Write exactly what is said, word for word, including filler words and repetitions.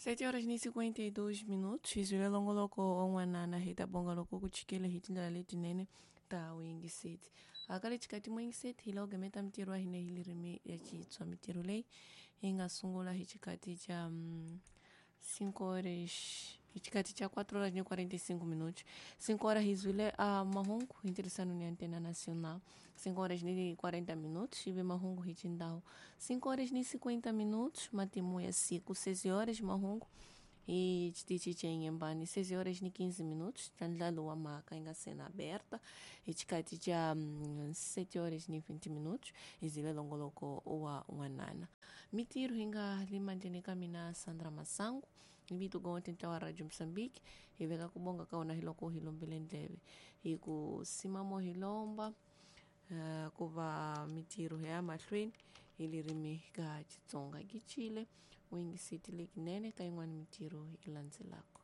Sete horas ni cinquenta e dois minutos, xizwile longoloko on'wanana hi ta bonga loko ku chikile hi tindlela letinene ta vuyingiseti. Hakale xikati muyingiseti hi loko gemeta mitirho ya hina hi lirimi ya Xitswa. Mitirho leyi yi nga sungula hi xikati xa cinco horas, hi xikati xa quatro horas ni quarenta e cinco minutos. Cinco horas hi zwile a mahungu hi ntirhisano ni Antena Nacional. Cinco horas ni quarenta minutos hi ve mahungu hi xindhawu. Cinco horas ni cinquenta minutos matimu ya siku. Seis horas mahungu hi xitichi xa Inhambane. Seis horas ni quinze minutos tandlalo wa mhaka yi nga sena aberta. Hi xikati xa sete horas ni vinte minutos hi zile longoloko wa n'wanana. Mitirho hi nga le mandleni ka mina Sandra Masangu hi vito gonte ntlawa Radio Mozambique hi veka ku bonga ka wona hi loko hi lombile ndleve hi ku simamo hi lomba uh, ku va mitirho ya mahlweni hi lirimi ka Xitsonga. Kichile u yingiseti lekinene ka yin'wana mitirho yi landzelaka.